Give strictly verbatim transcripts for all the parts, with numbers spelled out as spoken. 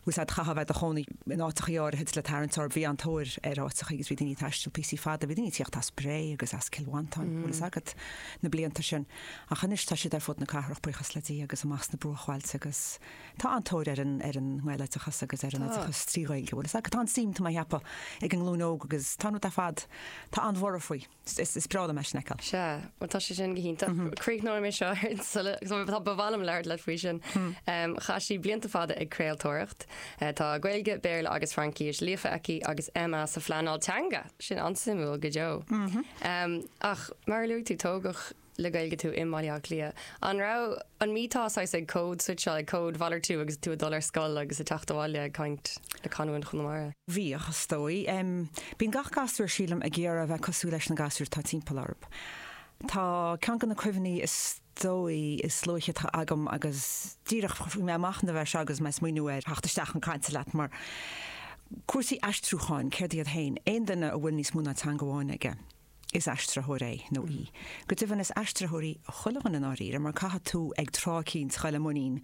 Bhfuil a fhios agat chaithfeá bheith i do chónaí in áiteachaí áirithe le tarraingt orthu, bhí an-tóir ar áiteachaí agus bhí daoine ag taisteal píosaí fada, bhí daoine ag tíocht as Bré agus as Cill Mhantáin, bhfuil fhios agat, na blianta sin. Ach anois tá siad ar fud na cathrach, buíochas le Dia, agus amach sna bruachbhailte agus tá an-tóir ar an ar an nGaeloideachas agus ar an oideachas trí Ghaeilge, bhfuil fhios agat. Tá an-suim, tá mé a cheapadh, ag an nglúin óg agus tá an rud ar fad, tá an-bhorradh faoi. Is is breá liom é sin a fheiceáil. Sea, bhuel tá sé sin go hiontach. Críochnóidh mé seo ar sula tá ba mhaith liom labhairt leat faoi sin. Chaith sí blianta fada ag craoltóireacht. Tá Gaeilge, Béarla agus Fraincis líofa aici agus M A sa phleanáil teanga. Sin an-suimiúil go deo. Ach mar a luaigh tú, tógadh le Gaeilge tú i mBaile Átha Cliath. An raibh an mbíteá saghas ag cód-switcháil, ag códmhalartú agus tú ag dul ar scoil agus ag teacht abhaile ag caint le canúint Chonamara? Bhíodh, is dóigh. Bíonn gach gasúr, sílim, ag iarraidh a bheith cosúil leis na gasúir atá timpeall orthu. Tá ceann de na cuimhní is dóigh is luaithe atá agam agus díreach bhí mé ag machnamh air seo agus mé ag smaoineamh ar theacht isteach chun cainte leat mar cúrsaí aistriúcháin, céard iad féin? Aon duine a bhfuil níos mó ná teanga amháin aige, is aistritheoir é nó í. Go deimhin is aistritheoirí chuile dhuine i ndáiríre mar caithfidh tú ag tráth eicínt dul i muinín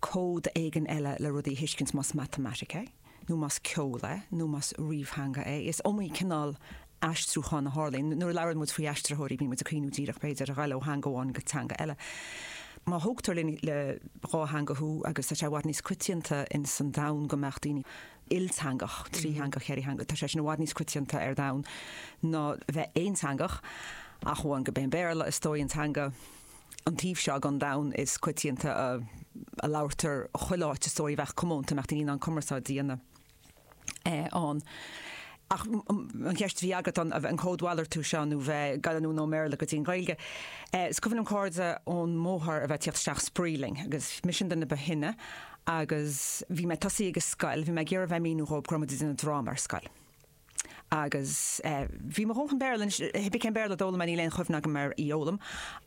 cód éigin eile le rudaí a thuiscint más matamaitic é, nó más ceol é, nó más ríomhtheanga é. Is iomaí cineál aistriúchán a tharlaíonn. Nuair a labhrann muid faoi aistritheoirí bíonn muid ag cuimhniú díreach b'fhéidir a ghabháil ó theanga amháin go teanga eile. Má thógtar le le dhá theanga thú agus tá sé i bhfad níos coitianta ins an domhan go mbeadh daoine ilteangach, trítheangach, ceithretheangach, tá sé sin i bhfad níos coitianta ar domhan ná bheith aonteangach, ach amháin go b'é an Béarla is dóigh an teanga an taobh seo den domhan is coitianta a, a labhartar chuile áit is dóigh a bheadh comónta, mbeadh daoine in ann cumarsáid a dhéanamh eh, ann. Ach an cheist a bhí agat an an códmhalartú seo nó bheith ag gabháil anonn ón mBéarla go dtí an Ghaeilge. Eh, is cuimhin liom cairde ón mbóthar a bheith ag tíocht isteach spraoi linn agus mise an duine ba shine agus bhí mé tosaithe ag an scoil, bhí mé ag iarraidh bheith ag míniú dhóibh go raibh muid ag déanamh dráma ar scoil. Agus eh, bhí mo dhóthain Béarla anois, cibé cén Béarla a d'fhoghlaim mé níl aon chuimhne agam ar í a fhoghlaim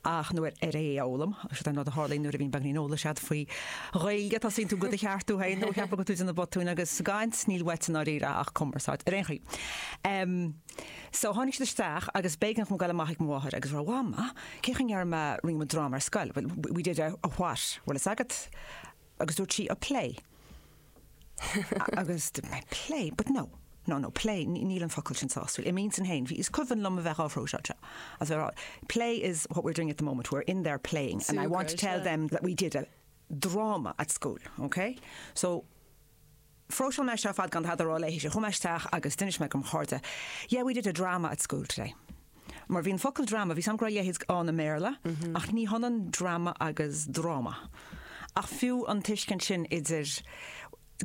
ach nó ar ar é a fhoghlaim, sin an rud a tharlaíonn nuair a bhíonn beagáinín eolais agat faoi Ghaeilge, tosaíonn tú go do cheartú féin nó ceapadh go tú déanamh botúin agus sa gcaint níl uait i ndáiríre ach cumarsáid ar aon chaoi. Um, so tháinig siad isteach agus b'éigean dom gabháil amach ag mo mháthair agus rá Mhama, cén chaoi a ndeir mé rinne muid dráma ar scoil? Well, we did a, a what? Bhfuil fhios agat? Agus dúirt sí a play. Agus dúirt mé play, but no. No, no, play, níl an focal sin sásúil. I m'intinn féin, bhí is cuimhin liom a bheith á phróiseáil seo. As bheith rá, play is what we're doing at the moment. We're in there playing. And I want to tell them that we did a drama at school, okay? So, phróiseáil mé seo fad gan tada a rá léi, chuaigh mé isteach agus d'inis mé dom chairde, yeah, we did a drama at school today. Mar bhí an focal drama, bhí sam go raibh a leithéid ann i mBéarla, ach ní hionann drama agus dráma. Ach fiú an tuiscint sin idir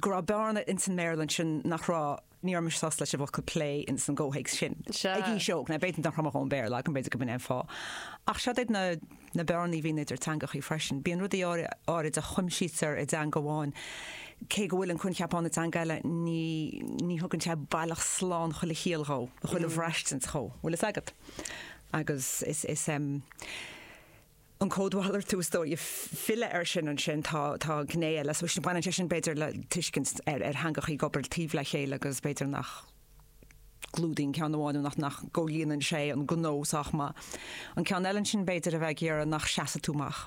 go raibh bearna ins an mBéarla sin nach raibh ní raibh mise sásta leis an bhfocal play ins an gcomhthéacs sin. Sea. Ag aois óg, na b'fhéidir nach raibh an Béarla agam b'fhéidir go b'in é an fáth. Ach seo iad na na bearnaí a bhíonn idir teangachaí freisin. Bíonn rudaí áirid a chuimsítear i dteanga amháin. Cé go bhfuil an coincheap ann i dteanga eile ní ní thugann sé baileach slán chuile chiall dhó, chuile bhraistint dhó. Bhfuil fhios agat? Agus is is um, an códmhalartú is dóigh filleadh air sin ansin tá tá gné eile, so sin baineann sé sin b'fhéidir le tuiscint ar ar theangachaí ag obair taobh le chéile agus b'fhéidir nach gclúdaíonn ceann amháin nó nach nach gcomhlíonann sé an gnó sách maith. An ceann eile sin b'fhéidir a bheith ag iarraidh nach seasfaidh tú amach.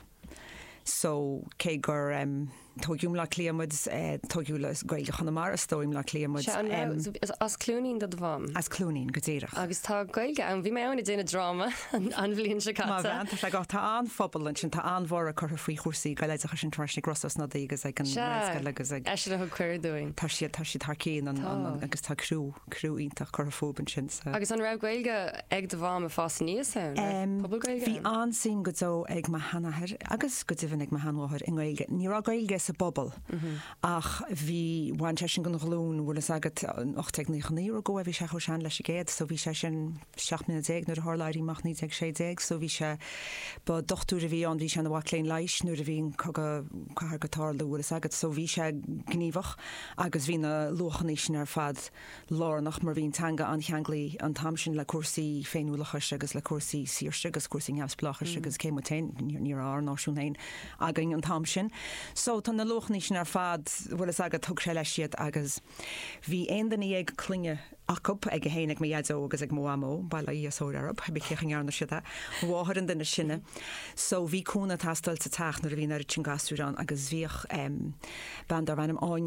So cé gur um, tógadh i mBleá Cliath muid eh, tógadh le Gaeilge Chonamara is dóigh i mBleá Cliath muid Sea, an raibh- is as Cluainín do do mham. as Cluainín go díreach. Agus tá Gaeilge ann, bhí mé ann ag déanamh dráma an an bhliain seo Má caite. bhean tá sé go tá an-phobal ansin tá an-bhorradh curtha faoi chúrsaí Gaeloideachais sin freisin ag Rossa Ó Snodaigh agus ag an Sea, Gaelscoil agus ag eisean a thug cuireadh dúinn. tá siad tá siad thar cinn an, an, an, agus tá criú criú iontach curtha fúthu ansin sa Agus an raibh Gaeilge ag do mham ag fás aníos ann? Um, Pobal Gaeilge? Bhí ann? an-suim go deo ag mo sheanathair agus go deimhin ag mo sheanmháthair i nGaeilge. Ní raibh Gaeilge sa bpobal ach bhí bhain sé sin den ghlúin bhfuil fhios agat ocht déag naocha naoi go bhí sé chomh sean leis an gcéad, so bhí sé sin seacht mbliana déag nuair a tharla Éirí Amach naoi déag sé déag, so bhí sé ba dochtúir a bhí ann bhí sé ina mhac léinn leighis nuair a bhí an cogadh cathartha ag tarlú bhfuil fhios agat, so bhí sé gníomhach agus bhí na luachanna sin ar fad lárnach mar bhí an teanga an-cheangailte an t-am sin le cúrsaí féiniúlachais agus le cúrsaí saoirse agus cúrsaí neamhspleáchais agus cé muid féin ní raibh ár náisiún féin againn an t-am sin. So tá na luachanna sin ar fad bhfuil fhios agat thug sé leis iad agus bhí aon duine dhéag clainne acu ag a héin ag mo dhaideo agus ag mo mhamó bail ó Dhia is óir orthu, bhí cécha ngearna siad é, mháthair an duine sine. So bhí cúnamh ag teastáil sa teach nuair a bhí an oiread sin gasúr ann agus bhíodh um, bean darbh ainm Áine